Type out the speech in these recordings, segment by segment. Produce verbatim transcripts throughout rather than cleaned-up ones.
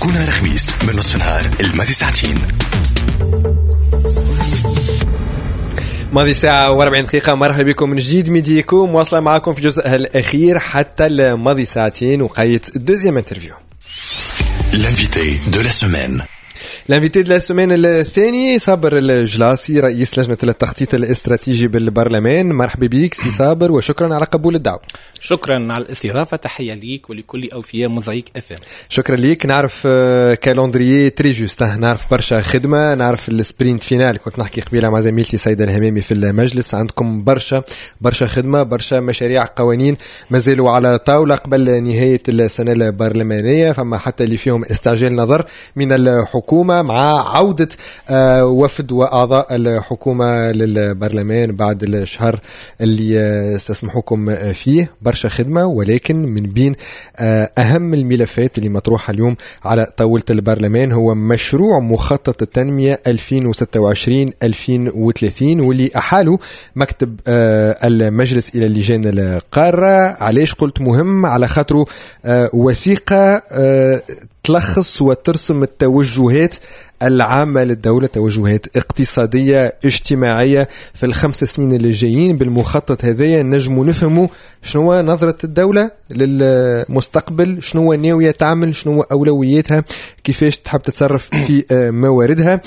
كل نهار خميس من نصف نهار الماضي ساعتين. ماضي ساعة وأربعين دقيقة. مرحبا بكم من جديد Midi Eco، مواصلة معكم في الجزء الأخير حتى الماضي ساعتين وقيت deuxième interview. L'invité de la semaine. L'invité de la semaine الثاني صابر الجلاسي، رئيس لجنة التخطيط الاستراتيجي بالبرلمان. مرحبا بك سي صابر وشكرا على قبول الدعوة. شكرا على الاستضافة، تحية ليك ولكل أوفياء موزايك اف ام. شكرا ليك. نعرف calendrier très juste، نعرف برشا خدمة، نعرف ال sprint final. كنت نحكي قبيلة مع زميلتي سيدة الهمامي في المجلس، عندكم برشا برشا خدمة، برشا مشاريع قوانين مازالوا على طاولة قبل نهاية السنة البرلمانية، فما حتى اللي فيهم استعجال نظر من الحكومة مع عودة وفد وأعضاء الحكومة للبرلمان بعد الشهر اللي استسمحوكم فيه. برشا خدمة، ولكن من بين أهم الملفات اللي مطروحة اليوم على طاولة البرلمان هو مشروع مخطط التنمية ألفين وستة وعشرين ألفين وثلاثين، واللي أحالة مكتب المجلس إلى اللجان القارة. علاش قلت مهم؟ على خاطره وثيقة تلخص وترسم التوجهات العامة للدولة، توجهات اقتصادية اجتماعية في الخمس سنين اللي جايين. بالمخطط هذايا نجموا نفهموا شنو نظرة الدولة للمستقبل، شنو ناوية تعمل، شنو أولوياتها، كيفاش تحب تتصرف في مواردها.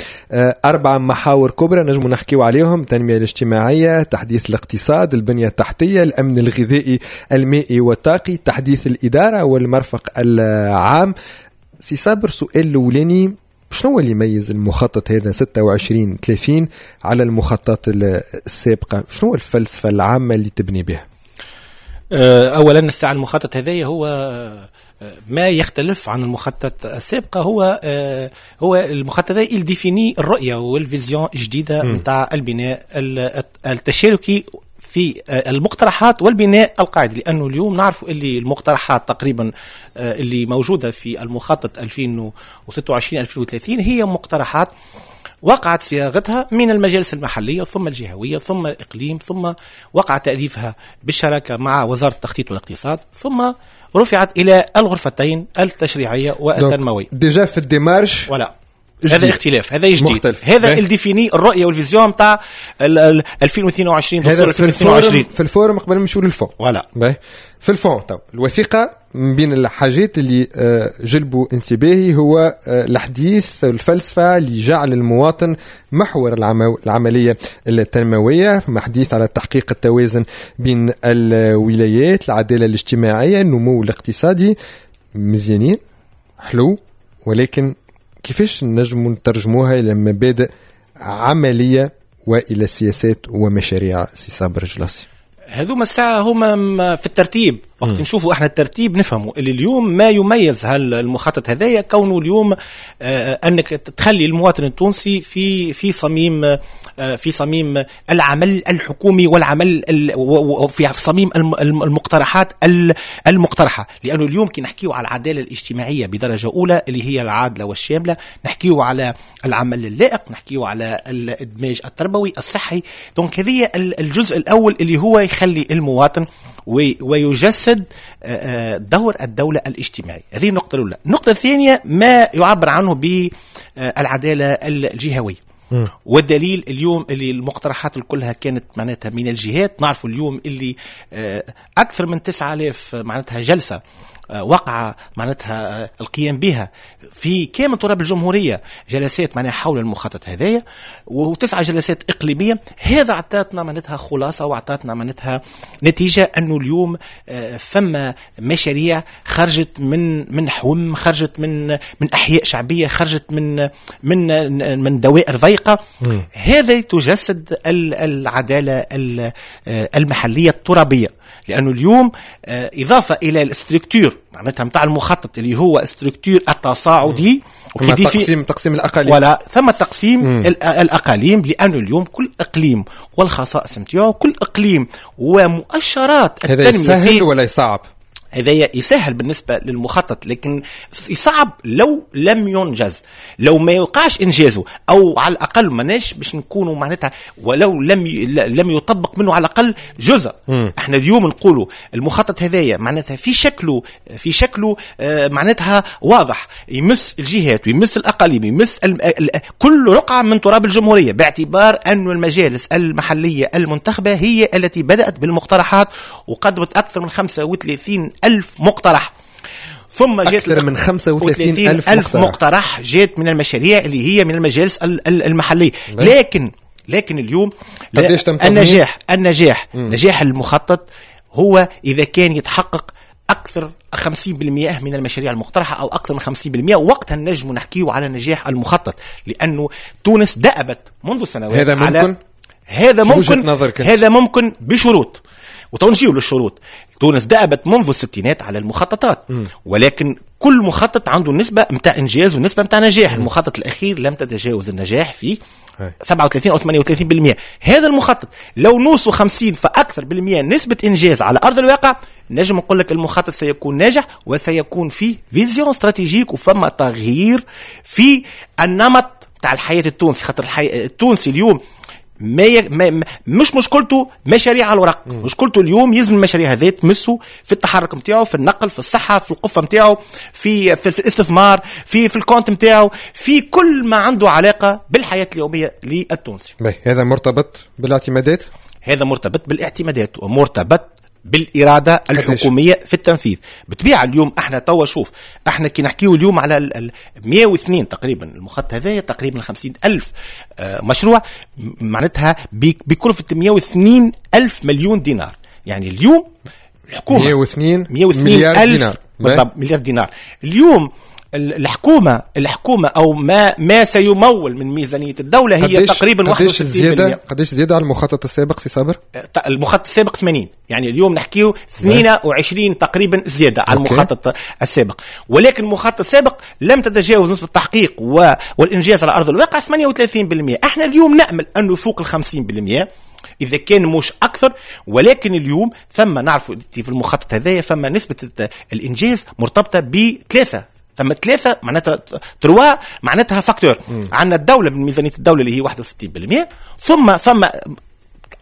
أربع محاور كبرى نجموا نحكيو عليهم: التنمية الاجتماعية، تحديث الاقتصاد، البنية التحتية، الأمن الغذائي المائي والطاقي، تحديث الإدارة والمرفق العام. سي صابر، سؤال الأولاني، شنو اللي يميز المخطط هذا ستة وعشرين ثلاثين على المخططات السابقة؟ شنو الفلسفة العامة اللي تبني بها؟ أولا الساعة المخطط هذا هو ما يختلف عن المخطط السابقة، هو هو المخطط هذا il définit الرؤية وال vision الجديدة نتاع البناء التشاركي في المقترحات والبناء القاعدي، لأنه اليوم نعرف اللي المقترحات تقريبا اللي موجودة في المخطط ألفين وستة وعشرين ألفين وثلاثين هي مقترحات وقعت صياغتها من المجالس المحلية ثم الجهوية ثم الإقليم، ثم وقع تأليفها بالشراكة مع وزارة التخطيط والاقتصاد، ثم رفعت إلى الغرفتين التشريعية والتنموية. déjà في ال démarche ولا هذا اختلاف، هذا جديد مختلف. هذا اللي définit الرؤية وال vision تاع ألفين واثنين وعشرين دستور ألفين واثنين وعشرين في ال forme قبل ما نمشيو لل fond. voilà في ال fond تو الوثيقة من بين الحاجات اللي جلبوا انتباهي هو الحديث الفلسفة اللي جعل المواطن محور العملية التنموية، حديث على تحقيق التوازن بين الولايات، العدالة الاجتماعية، النمو الاقتصادي. مزيانين حلو، ولكن كيفاش نجم نترجموها إلى مبادئ عملية وإلى سياسات ومشاريع سي صابر الجلاسي؟ هذوما الساعة هما في الترتيب. وقت نشوفوا احنا الترتيب نفهموا اللي اليوم ما يميز هالمخطط هذايا كونه اليوم آه انك تخلي المواطن التونسي في في صميم آه في صميم العمل الحكومي والعمل في صميم المقترحات المقترحة، لانه اليوم كي نحكيو على العدالة الاجتماعية بدرجة اولى اللي هي العادلة والشامله، نحكيو على العمل اللائق، نحكيو على الادماج التربوي الصحي. donc هذه الجزء الاول اللي هو يخلي المواطن ويجسد دور الدولة الاجتماعي. هذه النقطة الأولى. النقطة الثانية ما يعبر عنه بالعدالة الجهوية، والدليل اليوم اللي المقترحات كلها كانت معناتها من الجهات. نعرف اليوم اللي أكثر من تسعة آلاف معناتها جلسة وقع معناتها القيام بها في كامل تراب الجمهورية، جلسات معناها حول المخطط هذايا، وتسعة جلسات إقليمية. هذا اعطتنا معناتها خلاصة واعطتنا معناتها نتيجة أنه اليوم فما مشاريع خرجت من من حوم، خرجت من من أحياء شعبية، خرجت من من من دوائر ضيقة. هذا تجسد العدالة المحلية الترابية، لأنه اليوم إضافة إلى ال structure معناتها متاع المخطط اللي هو structure التصاعدي تقسيم تقسيم الأقاليم، ولا ثم تقسيم الأقاليم، لأنه اليوم كل إقليم والخصائص نتاعو، كل إقليم ومؤشرات التنمية. هذا يسهل ولا يصعب؟ هذا يسهل بالنسبة للمخطط، لكن يصعب لو لم ينجز، لو ما يوقعش إنجازه، أو على الأقل ماناش باش نكونوا معناتها ولو لم ي... لم يطبق منه على الأقل جزء. م. احنا اليوم نقولوا المخطط هذايا معناتها في شكله في شكله آه معناتها واضح، يمس الجهات ويمس الأقاليم، يمس ال... ال... كل رقعة من تراب الجمهورية، باعتبار أن المجالس المحلية المنتخبة هي التي بدأت بالمقترحات وقدمت أكثر من خمسة وثلاثين ألف مقترح، ثم جات أكثر من خمسة وثلاثين ألف, ألف مقترح. مقترح جات من المشاريع اللي هي من المجالس المحلية. لكن لكن اليوم النجاح النجاح مم. نجاح المخطط هو إذا كان يتحقق أكثر خمسين بالمئة من المشاريع المقترحة أو أكثر من خمسين بالمئة، وقتها نجم نحكيه على نجاح المخطط، لأنه تونس دأبت منذ سنوات. هذا ممكن على هذا ممكن هذا ممكن بشروط، وتنجيو للشروط. تونس دأبت منذ الستينات على المخططات، م. ولكن كل مخطط عنده نسبة متاع إنجاز ونسبة متاع نجاح. م. المخطط الأخير لم تتجاوز النجاح في سبعة وثلاثين أو ثمانية وثلاثين بالمئة. هذا المخطط لو نوصل خمسين فأكثر بالمئة نسبة إنجاز على أرض الواقع، نجم نقول لك المخطط سيكون ناجح وسيكون فيه vision stratégique، وفما تغيير في النمط تاع الحياة التونسي. خاطر الحي... التونسي اليوم ما, ي... ما مش مشكلته مشاريع على الورق، مشكلته اليوم يلزم المشاريع هذه تمسه في التحرك نتاعو، في النقل، في الصحة، في القفه نتاعو، في, في في الاستثمار، في في ال compte نتاعو، في كل ما عنده علاقة بالحياة اليومية للتونسي. هذا مرتبط بالاعتمادات، هذا مرتبط بالاعتمادات ومرتبط بالإرادة الحكومية في التنفيذ. بطبيعة اليوم احنا توا شوف، احنا كي نحكيو اليوم على ال مئة واثنين تقريبا المخطط هذايا، تقريبا خمسين ألف مشروع، معناتها بكلفة مئة واثنين ألف مليون دينار. يعني اليوم الحكومة مئة واثنين مليار دينار، بالضبط مليار دينار. اليوم الحكومة الحكومة أو ما ما سيمول من ميزانية الدولة هي تقريبا واحد وستين بالمئة. قديش زيادة على المخطط السابق سي صابر؟ المخطط السابق ثمانين، يعني اليوم نحكيو اثنين وعشرين تقريبا زيادة على المخطط السابق. ولكن المخطط السابق لم تتجاوز نسبة التحقيق والإنجاز على أرض الواقع ثمانية وثلاثين بالمئة. احنا اليوم نأمل أنه فوق الخمسين بالمئة إذا كان مش أكثر. ولكن اليوم ثم نعرف في المخطط هذايا ثم نسبة الإنجاز مرتبطة بثلاثة، ثم ثلاثة معناتها trois معناتها facteurs. عندنا الدولة من ميزانية الدولة اللي هي واحد وستين بالمئة، ثم ثم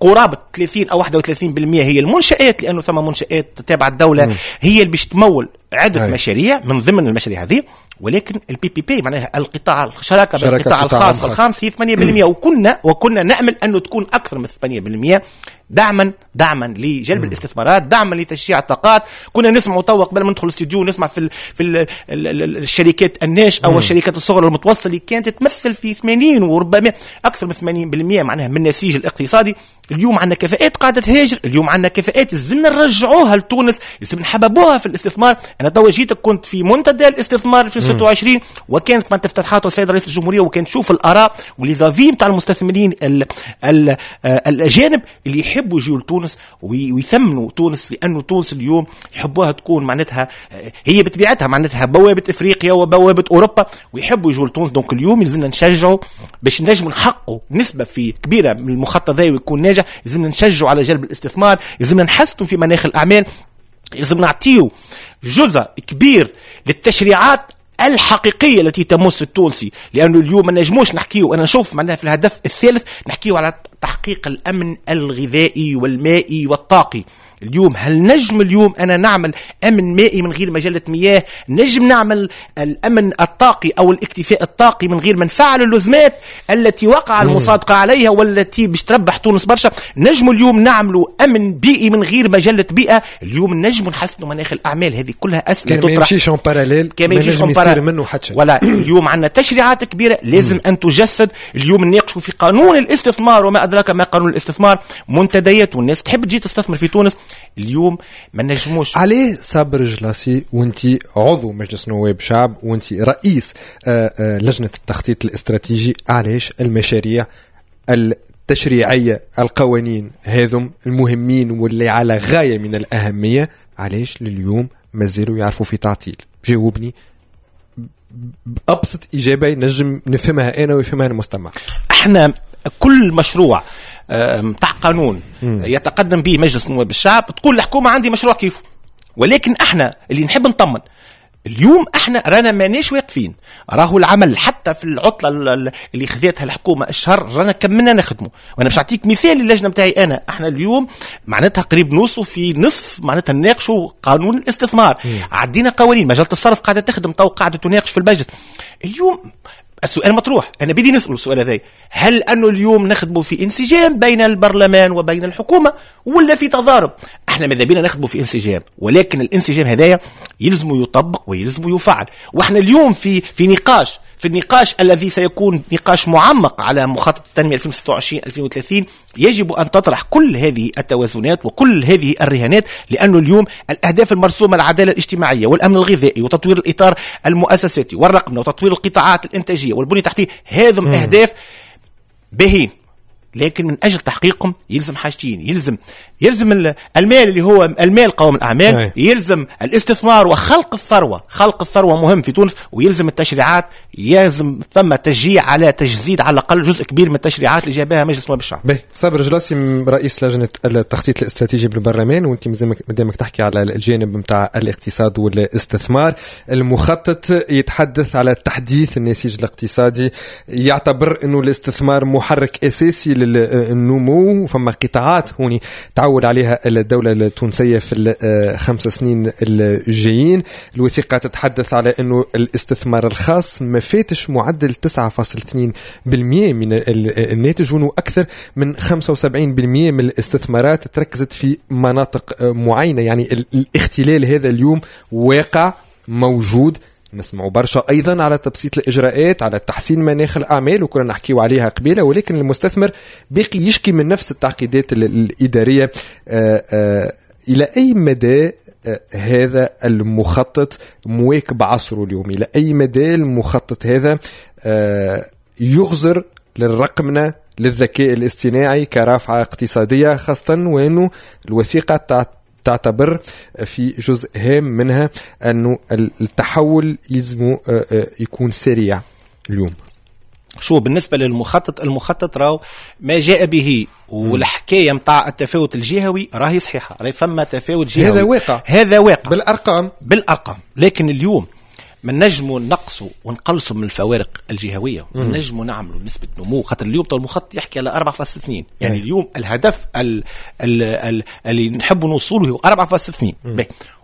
قرابة ثلاثين أو واحد وثلاثين بالمئة هي المنشآت، لأنه ثم منشآت تابعة الدولة مم. هي اللي باش تمول عدة هاي. مشاريع من ضمن المشاريع هذه. ولكن ال PPP معناها القطاع الشراكة بالقطاع الخاص الخامس هي ثمانية بالمئة، وكنا وكنا نأمل أنه تكون أكثر من ثمانية بالمئة دعما دعما لجلب مم. الاستثمارات، دعما لتشجيع الطاقات. كنا نسمع توا قبل ما ندخل الاستوديو نسمع في ال في ال ال الشركات الناشئة او الشركات الصغرى والمتوسطة اللي كانت تمثل في ثمانين وربما اكثر من ثمانين بالمئة معناها من النسيج الاقتصادي. اليوم عندنا كفاءات قاعدة تهاجر، اليوم عندنا كفاءات لازم نرجعوها لتونس، لازم نحببوها في الاستثمار. انا توا جيتك كنت في منتدى الاستثمار في ستة وعشرين، وكانت ما افتتحاته السيد رئيس الجمهورية، وكانت تشوف الاراء و les avis نتاع المستثمرين ال ال الاجانب اللي يحبوا يجوا لتونس ويثمنوا تونس، لانه تونس اليوم يحبوها تكون معناتها هي بطبيعتها معناتها بوابه افريقيا وبوابه اوروبا، ويحبوا يجوا لتونس. donc اليوم لازمنا نشجعوا باش نجموا نحققوا نسبه في كبيرة من المخطط ذا ويكون ناجح. لازمنا نشجعوا على جلب الاستثمار، لازمنا نحسنوا في مناخ الاعمال، لازم نعطيو جزء كبير للتشريعات الحقيقية التي تمس التونسي، لأنه اليوم ما نجموش نحكيو. أنا نشوف معناها في الهدف الثالث نحكيو على تحقيق الأمن الغذائي والمائي والطاقي. اليوم هل نجم اليوم أنا نعمل أمن مائي من غير مجلة مياه؟ نجم نعمل الأمن الطاقي أو الاكتفاء الطاقي من غير ما نفعل اللزمات التي وقع المصادقة عليها والتي باش تربح تونس برشا؟ نجم اليوم نعملوا أمن بيئي من غير مجلة بيئة؟ اليوم نجم نحسنوا مناخ الأعمال. هذه كلها أسئلة تطرح، ما يمشيش en parallèle، ما ينجم يصير منه حتى شيء. ولا اليوم عندنا تشريعات كبيرة لازم أن تجسد. اليوم نناقشوا في قانون الاستثمار وما أدراك ما قانون الاستثمار، منتديات والناس تحب تجي تستثمر في تونس. اليوم ما نجموش عليه. صابر الجلاصي، وانت عضو مجلس نواب شعب وانت رئيس لجنة التخطيط الاستراتيجي، علاش المشاريع التشريعية القوانين هذم المهمين واللي على غاية من الأهمية علاش لليوم مازالوا يعرفوا في تعطيل؟ جاوبني بأبسط إجابة نجم نفهمها أنا ويفهمها المستمع. احنا كل مشروع متاع قانون يتقدم به مجلس نواب الشعب تقول الحكومة عندي مشروع كيفه، ولكن احنا اللي نحب نطمن اليوم، احنا رانا ماناش واقفين، راهو العمل حتى في العطلة اللي خذتها الحكومة الشهر رانا كملنا نخدموا. وانا باش نعطيك مثال اللجنة نتاعي انا، احنا اليوم معناتها قريب نوصلوا في نصف معناتها نناقشوا قانون الاستثمار. م. عدينا قوانين مجلة الصرف قاعدة تخدم تو، قاعدة تناقش في المجلس. اليوم السؤال مطروح، انا بدي نسأل السؤال هذا، هل انه اليوم نخدموا في انسجام بين البرلمان وبين الحكومة ولا في تضارب؟ احنا ماذا بينا نخدموا في انسجام، ولكن الانسجام هذايا يلزم يطبق ويلزم يفعل. واحنا اليوم في في نقاش، في النقاش الذي سيكون نقاش معمق على مخطط التنمية ألفين وستة وعشرين ألفين وثلاثين، يجب أن تطرح كل هذه التوازنات وكل هذه الرهانات، لأنه اليوم الأهداف المرسومة، العدالة الاجتماعية والأمن الغذائي وتطوير الإطار المؤسساتي والرقمنة وتطوير القطاعات الإنتاجية والبنية التحتية، هذم أهداف باهين، لكن من أجل تحقيقهم يلزم حاجتين، يلزم يلزم المال اللي هو المال قوام الأعمال، أي. يلزم الاستثمار وخلق الثروة، خلق الثروة مهم في تونس، ويلزم التشريعات، يلزم ثم تشجيع على تجسيد على الأقل جزء كبير من التشريعات اللي جابها مجلس نواب الشعب. باهي، صابر جلاسي رئيس لجنة التخطيط الاستراتيجي بالبرلمان، وانت مادامك تحكي على الجانب نتاع الاقتصاد والاستثمار، المخطط يتحدث على تحديث النسيج الاقتصادي، يعتبر انه الاستثمار محرك اساسي للنمو، فما قطاعات هوني تعول عليها الدولة التونسية في الخمس سنين الجايين. الوثيقة تتحدث على أنه الاستثمار الخاص ما فاتش معدل تسعة فاصلة اثنين بالمئة من الناتج، وأنه أكثر من خمسة وسبعين بالمئة من الاستثمارات تركزت في مناطق معينة. يعني الاختلال هذا اليوم واقع موجود، نسمع برشا أيضا على تبسيط الإجراءات، على تحسين مناخ الأعمال، وكنا نحكيو عليها قبيلة، ولكن المستثمر باقي يشكي من نفس التعقيدات الإدارية. آآ آآ إلى أي مدى هذا المخطط مواكب عصره اليوم؟ إلى أي مدى المخطط هذا يغزر للرقمنة، للذكاء الاصطناعي كرافعة اقتصادية، خاصة وأنه الوثيقة تعتبر في جزء هام منها أنه التحول يلزم يكون سريع اليوم؟ شو بالنسبة للمخطط، المخطط راهو ما جاء به والحكاية متاع التفاوت الجهوي راهي صحيحة، راهي فما تفاوت جهوي، هذا واقع، هذا واقع بالأرقام، بالأرقام. لكن اليوم ما نجموا نقصوا ونقلصوا من الفوارق الجهوية، ونجموا نعملوا نسبه نمو، خاطر اليوم تو المخطط يحكي على أربعة فاصلة اثنين، يعني اليوم الهدف ال ال ال اللي نحبوا نوصوله هو أربعة فاصلة اثنين.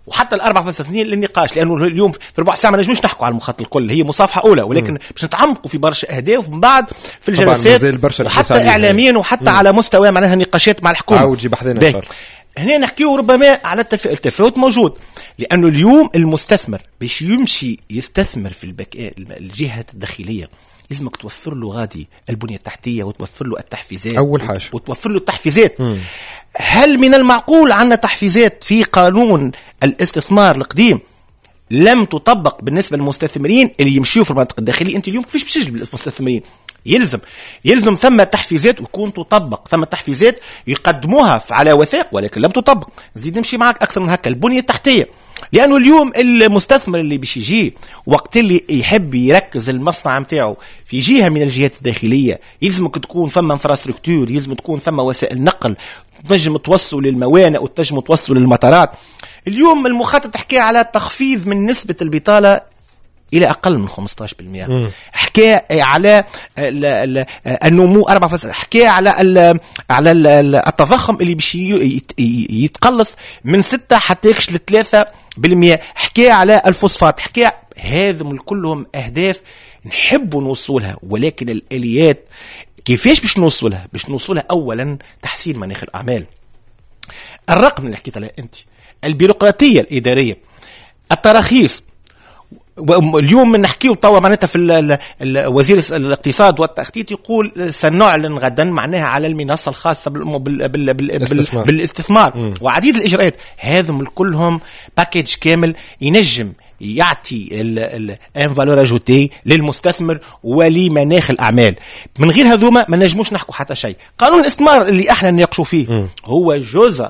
وحتى ال أربعة فاصلة اثنين للنقاش، لانه اليوم في ربع ساعة ما نجموش نحكوا على المخطط الكل، هي مصافحه اولى، ولكن باش نتعمقوا في برشا اهداف من بعد في الجلسات، وحتى اعلاميا وحتى مم. على مستوى معناها نقاشات مع الحكومة. عاود جيب حذنا. هنا نحكيو ربما على التف... التفاوت موجود، لأنه اليوم المستثمر باش يمشي يستثمر في البك... الجهة الداخلية لازمك توفر له غادي البنية التحتية وتوفر له التحفيزات، أول حاجة وتوفر له التحفيزات. مم. هل من المعقول عندنا تحفيزات في قانون الاستثمار القديم لم تطبق بالنسبة للمستثمرين اللي يمشيوا في المنطقة الداخلية؟ أنت اليوم كيفاش باش تجلب المستثمرين؟ يلزم يلزم ثم تحفيزات ويكون تطبق، ثم تحفيزات يقدموها على وثائق ولكن لم تطبق. زيد نمشي معك أكثر من هكا، البنية التحتية، لأنه اليوم المستثمر اللي باش يجي وقت اللي يحب يركز المصنع متاعه في جهة من الجهات الداخلية يلزمك تكون ثم infrastructure، يلزم تكون ثم وسائل نقل تنجم توصل للموانئ وتنجم توصل للمطارات. اليوم المخطط حكى على تخفيض من نسبة البطالة إلى أقل من خمسة عشر بالمئة، حكى على النمو أربعة، حكى على ال على ال التضخم اللي باش يتقلص من ستة حتى يكش لثلاثة بالمئة، حكى على الفوسفات، حكى هذم كلهم أهداف نحب نوصلها، ولكن الآليات كيفاش باش نوصلها؟ باش نوصلها أولا تحسين مناخ الأعمال، الرقم اللي حكيت عليه أنت، البيروقراطية الإدارية، التراخيص. اليوم نحكيو توا معناتها في ال ال وزير الاقتصاد والتخطيط يقول سنعلن غدا معناها على المنصة الخاصة بال بال بال بال بالاستثمار, بالاستثمار. وعديد الاجراءات، هذم كلهم package كامل ينجم يعطي une valeur ajoutée للمستثمر ولمناخ الاعمال. من غير هذوما ما نجموش نحكوا حتى شيء. قانون الاستثمار اللي احنا نناقشوا فيه م. هو جزء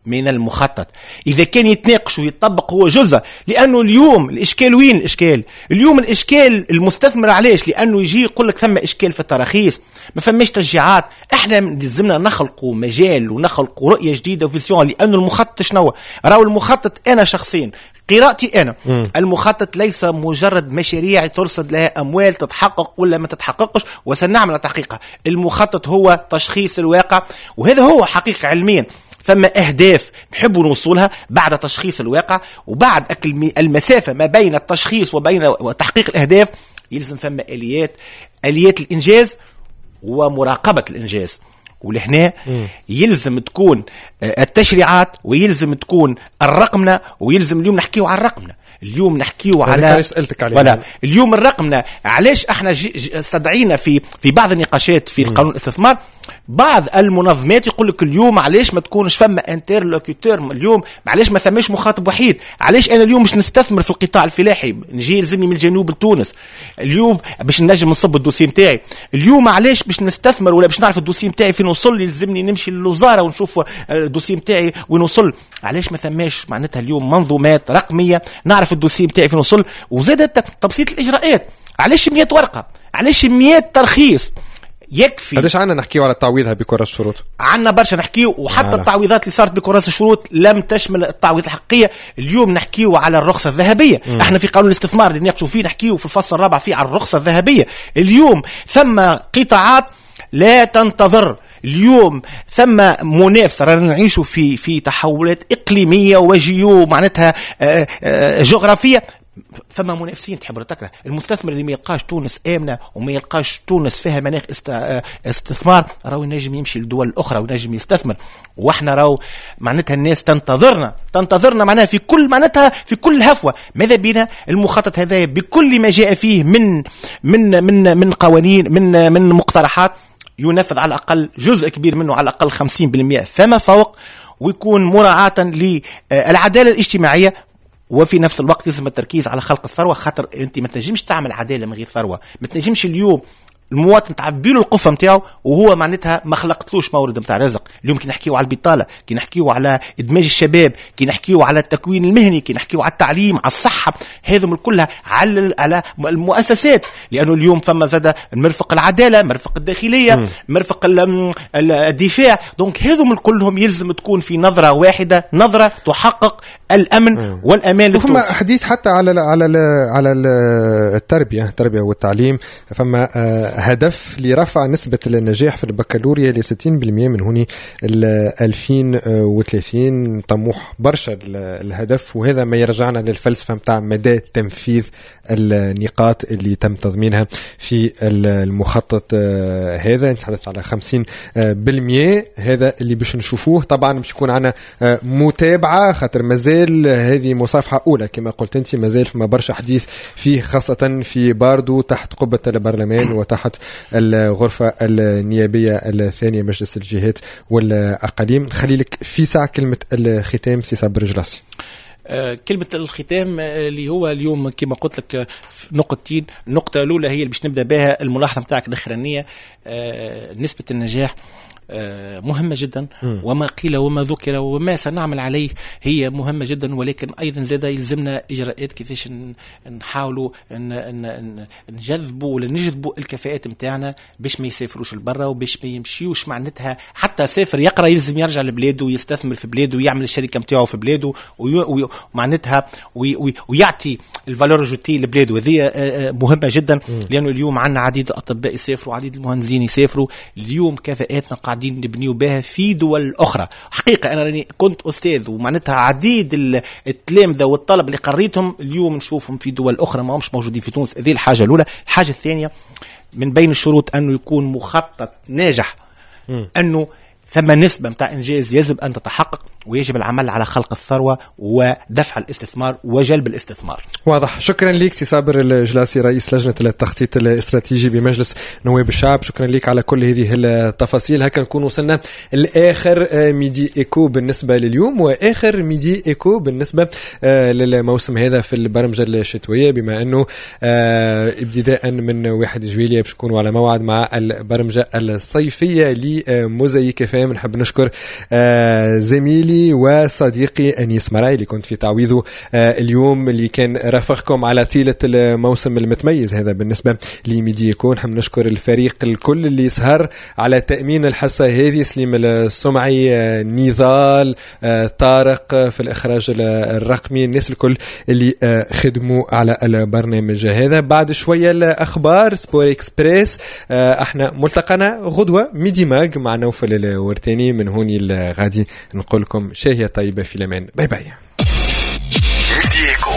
من المخطط. إذا كان يتناقش ويتطبق هو جزء، لأنه اليوم الإشكال وين الإشكال؟ اليوم الإشكال المستثمر علاش؟ لأنه يجي يقول لك ثم إشكال في التراخيص، ما فماش تشجيعات. احنا لازمنا نخلقوا مجال ونخلقوا رؤية جديدة و vision، لأنه المخطط شنو؟ راهو المخطط أنا شخصيا قراءتي أنا م. المخطط ليس مجرد مشاريع ترصد لها أموال تتحقق ولا ما تتحققش وسنعمل تحقيقها. المخطط هو تشخيص الواقع، وهذا هو حقيقة علميا. ثم أهداف نحب نوصلها بعد تشخيص الواقع، وبعد المسافة ما بين التشخيص وبين تحقيق الأهداف يلزم ثم آليات، آليات الإنجاز ومراقبة الإنجاز. ولهنا يلزم تكون التشريعات، ويلزم تكون الرقمنة، ويلزم اليوم نحكيو على الرقمنة. اليوم نحكيو على سألتك عليه. اليوم الرقمنة علاش احنا استدعينا في في بعض النقاشات في قانون الاستثمار بعض المنظمات يقول لك اليوم علاش ما تكونش فما interlocuteur، اليوم علاش ما ثماش مخاطب وحيد، علاش انا اليوم مش نستثمر في القطاع الفلاحي نجي يلزمني من الجنوب لتونس اليوم باش نجم نصب ال dossier نتاعي، اليوم علاش باش نستثمر ولا باش نعرف ال dossier نتاعي فين وصل يلزمني نمشي للوزارة ونشوف ال dossier نتاعي وين وصل. علاش ما ثماش معناتها اليوم منظومات رقمية نعرف ال dossier نتاعي فين وصل، وزادت تبسيط الاجراءات. علاش مية ورقة، علاش مية ترخيص؟ يكفي. علاش عندنا نحكيو على تعويضها بكراس الشروط؟ عندنا برشا نحكيو، وحتى التعويضات اللي صارت بكراس الشروط لم تشمل التعويض الحقيقية. اليوم نحكيو على الرخصة الذهبية. مم. احنا في قانون الاستثمار اللي نناقشوا فيه نحكيو في الفصل الرابع فيه على الرخصة الذهبية. اليوم ثم قطاعات لا تنتظر، اليوم ثم منافسة، رانا نعيشوا في في تحولات إقليمية وجيو معناتها جغرافية، ثم منافسين تحب ولا تكره. المستثمر اللي ما يلقاش تونس آمنة وما يلقاش تونس فيها مناخ استثمار راهو ينجم يمشي للدول الأخرى وينجم يستثمر. واحنا راهو معناتها الناس تنتظرنا، تنتظرنا معناها في كل معناتها في كل هفوة. ماذا بينا المخطط هذا بكل ما جاء فيه من من من من قوانين من من مقترحات ينفذ على الأقل جزء كبير منه، على الأقل خمسين بالمئة فما فوق، ويكون مراعاة للعدالة الاجتماعية، وفي نفس الوقت لازم التركيز على خلق الثروة. خاطر أنت ما تنجمش تعمل عدالة من غير ثروة، ما تنجمش اليوم المواطن تعبي له القفه نتاعو وهو معناتها ما خلقتلوش مورد نتاع رزق. اليوم كي نحكيو على البطالة، كي نحكيو على ادماج الشباب، كي نحكيو على التكوين المهني، كي نحكيو على التعليم، على الصحة، هذم كلها على على المؤسسات. لانه اليوم فما زاد مرفق العدالة، مرفق الداخلية، م. مرفق الدفاع، donc هذم كلهم يلزم تكون في نظره واحدة، نظره تحقق الامن م. والامان للتونس. فما حديث حتى على على على التربية، التربية والتعليم، فما هدف لرفع نسبة النجاح في البكالوريا ل ستين بالمئة من هوني ألفين وثلاثين. طموح برشا الهدف، وهذا ما يرجعنا للفلسفة متاع مدى تنفيذ النقاط اللي تم تضمينها في المخطط هذا. نتحدث على خمسين بالمئة، هذا اللي باش نشوفوه. طبعا باش يكون عنا متابعة، خاطر مازال هذه مصافحة أولى كما قلت أنت، مازال فما برشا حديث فيه، خاصة في باردو تحت قبة البرلمان وتحت الغرفة النيابية الثانية مجلس الجهات والأقاليم. نخلي لك في ساعة كلمة الختام سي صابر الجلاصي. كلمة الختام اللي هو اليوم كما قلت لك نقطتين. النقطة الأولى هي اللي باش نبدأ بها الملاحظة نتاعك الأخرانية، نسبة النجاح مهمة جدا، وما قيل وما ذكر وما سنعمل عليه هي مهمة جدا، ولكن أيضا زاد يلزمنا إجراءات كيفاش نحاولوا نجذبوا ولا نجذبوا الكفاءات متاعنا باش ما يسافروش لبرا وباش ما يمشيوش معناتها. حتى سافر يقرأ يلزم يرجع لبلاده ويستثمر في بلاده ويعمل الشركة متاعه في بلاده ومعناتها ويعطي ال valeur ajoutée لبلاده. وهذه مهمة جدا، لأنه اليوم عندنا عديد الأطباء يسافروا، عديد المهندسين يسافروا، اليوم كفاءاتنا قاعدين نبنيو بها في دول أخرى. حقيقة أنا راني كنت أستاذ ومعناتها عديد التلامذة والطلب اللي قريتهم اليوم نشوفهم في دول أخرى ما همش موجودين في تونس. هذه الحاجة الأولى. الحاجة الثانية، من بين الشروط أنه يكون مخطط ناجح، أنه ثم نسبة متاع إنجاز يجب أن تتحقق، ويجب العمل على خلق الثروة ودفع الاستثمار وجلب الاستثمار. واضح. شكرا لك سي صابر الجلاصي رئيس لجنة التخطيط الاستراتيجي بمجلس نواب الشعب، شكرا لك على كل هذه التفاصيل. هكا نكون وصلنا لآخر Midi Eco بالنسبة لليوم، وآخر Midi Eco بالنسبة للموسم هذا في البرمجة الشتوية، بما أنه ابتداء من واحد جويلية باش نكونوا على موعد مع البرمجة الصيفية لموزايك فام. نحب نشكر زميلي زميلي وصديقي أنيس مراي اللي كنت في تعويضه اليوم، اللي كان رافقكم على طيلة الموسم المتميز هذا بالنسبة ل Midi Eco. نحب نشكر الفريق الكل اللي سهر على تأمين الحصة هذه، سليم السمعي، نضال، طارق في الإخراج الرقمي، الناس الكل اللي خدموا على البرنامج هذا. بعد شوية الأخبار Sport Express. احنا ملتقنا غدوة Midi Mag مع نوفل الورتاني. من هوني الغادي نقول لكم شاهية طيبة في الأمان. bye bye. Midi Eco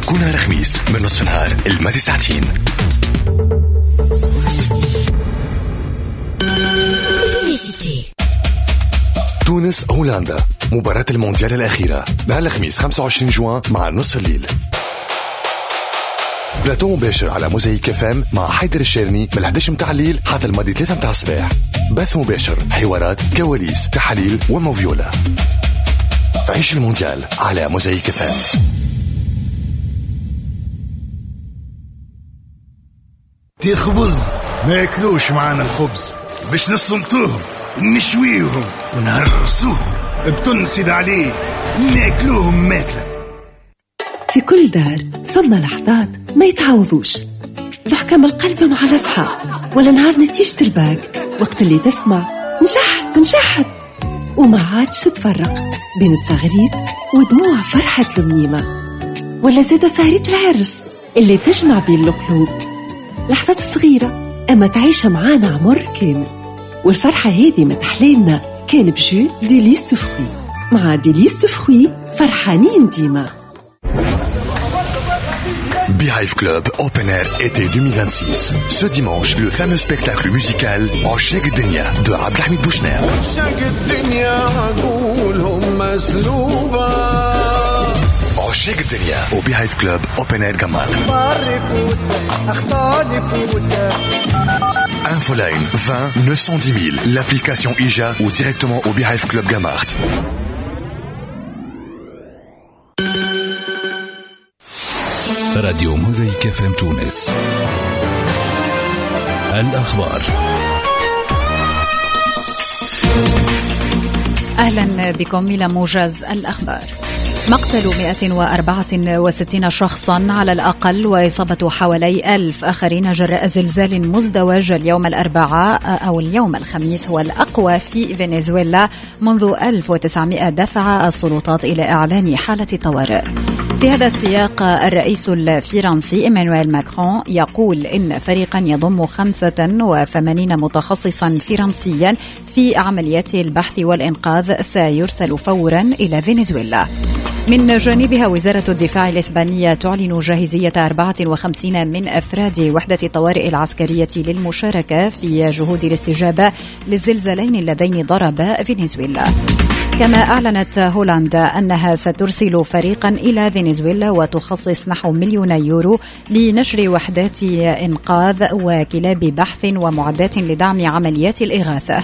كنا الخميس من نصف نهار الماضي ساعتين. تونس هولندا، مباراة المونديال الأخيرة نهار الخميس خمسة وعشرين جوان مع نصف الليل. بلاتو مباشر على موزايك اف ام مع حيدر الشيرني من إحدى عشر متاع الليل حتى الماضي ثلاثة متاع الصباح. بث مباشر، حوارات، كواليس، تحاليل وموفيولا. عيش المونديال على موزايك اف ام. تخبز ما ياكلوش معانا الخبز باش نصمتوهم نشويهم ونهرسوهم بتن سيد عليه ناكلوهم ماكلة. في كل دار ثم لحظات ما يتعوضوش، ضحكة من القلب مع الأصحاب، ولا نهار نتيجة الباك وقت اللي تسمع نجحت نجحت وما عادش تفرق بين تزغريت ودموع فرحة المنيمة، ولا زادة سهرية العرس اللي تجمع بين القلوب. لحظات صغيرة أما تعيش معانا عمر كامل، والفرحة هذه ما تحلالنا كان ب jus Délice de fruits. مع Délice de fruits فرحانين ديما. Beehive Club Open Air été deux mille vingt-six. Ce dimanche, le fameux spectacle musical عشاق الدنيا de Abdelhamid Bouchner. عشاق الدنيا عقولهم مسلوبة. عشاق الدنيا au Beehive Club Open Air Gamart. Infoline vingt neuf cent dix mille, l'application I J A ou directement au Beehive Club Gamart. راديو موزايك اف ام تونس. الأخبار. أهلا بكم إلى موجز الأخبار. مقتل مئة وأربعة وستين شخصا على الأقل وإصابة حوالي ألف آخرين جراء زلزال مزدوج اليوم الأربعاء أو اليوم الخميس هو الأقوى في فنزويلا منذ ألف وتسعمئة، دفع السلطات إلى إعلان حالة طوارئ. في هذا السياق الرئيس الفرنسي إيمانويل ماكرون يقول إن فريقا يضم خمسة وثمانين متخصصا فرنسيا في عمليات البحث والإنقاذ سيرسل فورا إلى فنزويلا. من جانبها وزارة الدفاع الإسبانية تعلن جاهزية أربعة وخمسين من أفراد وحدة الطوارئ العسكرية للمشاركة في جهود الاستجابة للزلزالين اللذين ضربا فنزويلا. كما أعلنت هولندا أنها سترسل فريقا إلى فنزويلا وتخصص نحو مليون يورو لنشر وحدات إنقاذ وكلاب بحث ومعدات لدعم عمليات الإغاثة.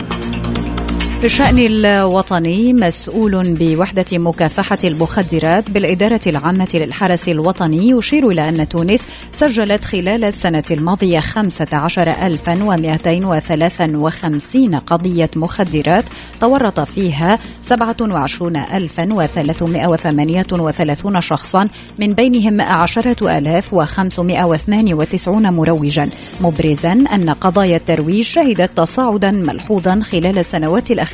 في الشأن الوطني، مسؤول بوحدة مكافحة المخدرات بالإدارة العامة للحرس الوطني يشير إلى أن تونس سجلت خلال السنة الماضية خمسة عشر ألفا ومئتين وثلاثة وخمسين قضية مخدرات تورط فيها سبعة وعشرون ألفا وثلاثمئة وثمانية وثلاثون شخصا، من بينهم عشرة آلاف وخمسمئة واثنان وتسعون مروجا، مبرزا أن قضايا الترويج شهدت تصاعدا ملحوظا خلال السنوات الأخيرة.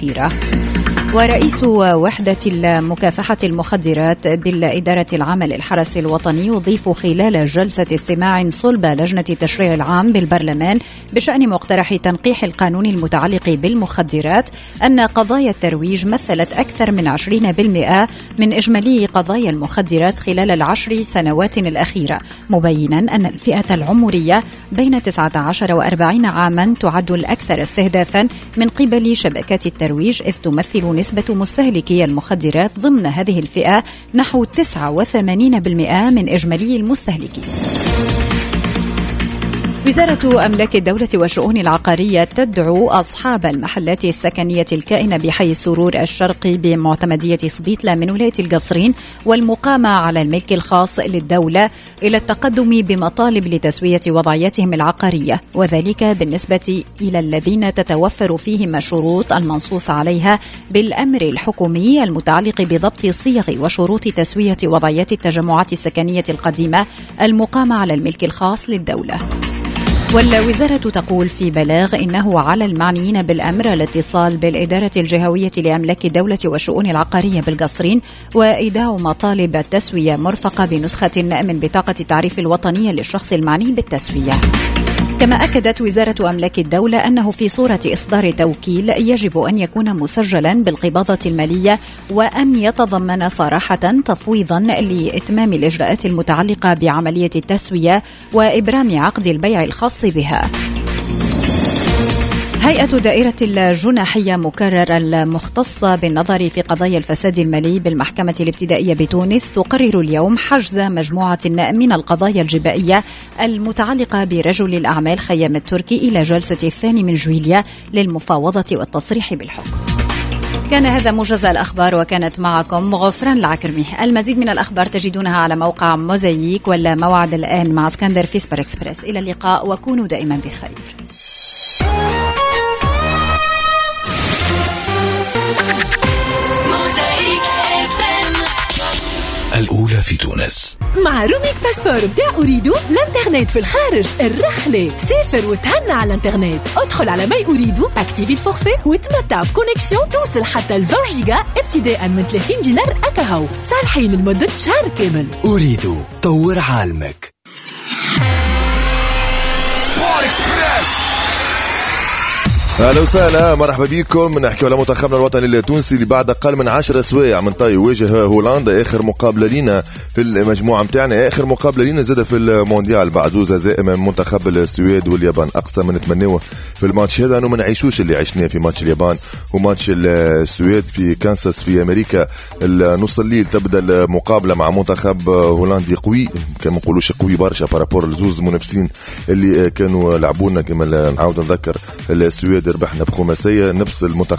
ورئيس وحدة مكافحة المخدرات بالإدارة العامة للحرس الوطني يضيف خلال جلسة استماع صلب لجنة التشريع العام بالبرلمان بشأن مقترح تنقيح القانون المتعلق بالمخدرات أن قضايا الترويج مثلت أكثر من عشرين بالمئة من إجمالي قضايا المخدرات خلال العشر سنوات الأخيرة، مبينا أن الفئة العمرية بين تسعة عشر وأربعين عاما تعد الأكثر استهدافا من قبل شبكات الترويج، إذ تمثل نسبة مستهلكي المخدرات ضمن هذه الفئة نحو تسعة وثمانين بالمئة من إجمالي المستهلكين. وزارة أملاك الدولة والشؤون العقارية تدعو أصحاب المحلات السكنية الكائنة بحي السرور الشرقي بمعتمدية سبيطلة من ولاية القصرين والمقامة على الملك الخاص للدولة إلى التقدم بمطالب لتسوية وضعيتهم العقارية، وذلك بالنسبة إلى الذين تتوفر فيهم الشروط المنصوص عليها بالأمر الحكومي المتعلق بضبط صيغ وشروط تسوية وضعيات التجمعات السكنية القديمة المقامة على الملك الخاص للدولة. والوزارة تقول في بلاغ إنه على المعنيين بالأمر الاتصال بالإدارة الجهوية لأملاك الدولة والشؤون العقارية بالقصرين وإيداع مطالب التسوية مرفقة بنسخة من بطاقة التعريف الوطنية للشخص المعني بالتسوية. كما أكدت وزارة أملاك الدولة أنه في صورة إصدار توكيل يجب أن يكون مسجلا بالقباضة المالية وأن يتضمن صراحة تفويضا لإتمام الإجراءات المتعلقة بعملية التسوية وإبرام عقد البيع الخاص بها. هيئة دائرة الجناحية مكرر المختصة بالنظر في قضايا الفساد المالي بالمحكمة الابتدائية بتونس تقرر اليوم حجز مجموعة من القضايا الجبائية المتعلقة برجل الأعمال خيام التركي إلى جلسة الثاني من جويلية للمفاوضة والتصريح بالحكم. كان هذا موجز الأخبار، وكانت معكم غفران العكرمي. المزيد من الأخبار تجدونها على موقع موزايك، ولا موعد الآن مع اسكندر في سبر إكسبرس. إلى اللقاء وكونوا دائما بخير. الأولى في تونس مع roaming passeport بتاع أوريدو. الانترنت في الخارج الرحلة، سافر وتهنى على الانترنت. ادخل على my أوريدو، activer ال forfait وتمتع ب connexion توصل حتى ل عشرين جيجا ابتداء من ثلاثين دينار أكاهو، صالحين لمدة شهر كامل. أوريدو، طور عالمك. سبور إكسبريس. اهلا وسهلا، مرحبا بكم. نحكي على منتخبنا الوطني التونسي اللي بعد اقل من عشر سوايع من طي يواجه هولندا، اخر مقابله لينا في المجموعة نتاعنا، اخر مقابله لينا زاده في المونديال بعد زوز هزائم من منتخب السويد واليابان. اقصى ما نتمنوه في الماتش هذا انه ما نعيشوش اللي عشناه في ماتش اليابان وماتش السويد في كانساس في امريكا. نص الليل تبدا المقابلة مع منتخب هولندي قوي، كما نقولوش قوي برشا par rapport لزوز منافسين اللي كانوا لعبونا. كما نعاود نذكر السويد ربحنا بخماسيه، نفس المنتخب